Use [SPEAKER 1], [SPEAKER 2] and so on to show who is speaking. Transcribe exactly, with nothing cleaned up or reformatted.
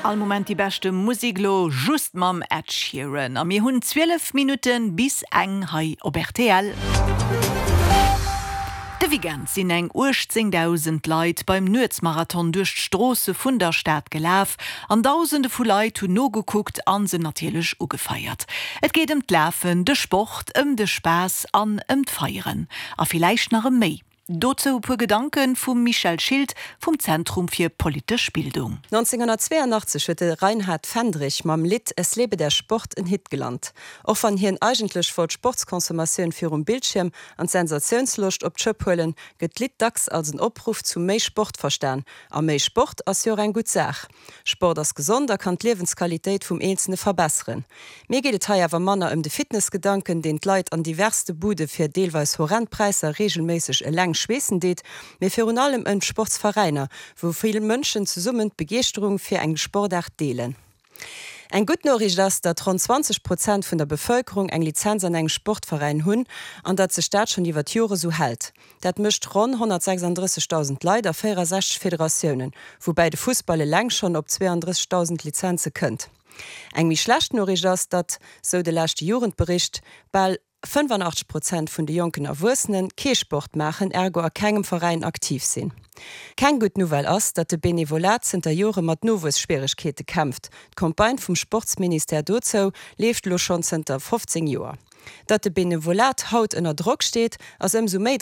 [SPEAKER 1] All Moment déi beschte Musek lo just mam Ed Sheeran. A mir hunn zwielef Minutten bis eng hei op R T L. De Weekend sinn eng uechtzéngdausend Leit beim Nuetsmarathon duerch d'Stroosse vun der Stad gelaf an Dausende vu Leit hunn nogekuckt an se natierlech ugefeiert. Et geet ëm d'Lafen, de Sport, ëm de Spaass an ëm d'Feieren. A villäicht nach ëm méi. Dozou e puer Gedanke vum Michèle Schilt vum Zentrum fir politesch Bildung.
[SPEAKER 2] nënzénghonnertzweeanachtzeg huet de Rainhard Fendrich mam Lidd Es lebe der Sport en Hit gelant. Och wann hien eigentlech wollt d'Sportsconsommatioun virum Bildschierm an d'Sensatiounsloscht op d'Schëpp huelen, gëtt d'Lidd dacks als en Opruff zu méi Sport verstan. A méi Sport ass jo och eng gutt Saach. Sport ass gesond a kann d'Liewensqualitéit vum Eenzelne verbesseren. Mir geet et hei awer manner ëm de Fitnessgedanken, deen d'Leit an diverste Bude fir deelweis horrend Präisser reegelméisseg eleng schweessen deet, mee virun allem ëm d'Sportsveräiner, wou vill Mënschen zesummen d'Begeeschterung fir eng Sportaart deelen. Eng gutt Noriicht ass, datt ronn zwanzeg Prozent vun der Bevëlkerung eng Lizenz an engem Sportveräin hunn an datt sech dat schonn iwwer d'Jore sou hält. Dat mécht ronn honnertsechsandrëssegdausend Leit a véierasechzeg Federatiounen, woubäi de Fussball eleng schonn op zweeandrëssegdausend Lizenze kënnt. Eng méi schlecht Noriicht ass, datt, sou de leschte Jugendbericht, bal fënnfanachtzeg Prozent vun de jonken Erwuessene kee Sport maachen, ergo a kengem Veräin aktiv sinn. Keng gutt Nouvelle ass, datt de Benevolat zënter Jore mat Nowuesschwieregkeete kämpft. D'Campagne vum Sportsministère dozou leeft lo schonn zënter fofzéng Joer. Datt de Benevolat haut ënner Drock steet, ass ëmsou méi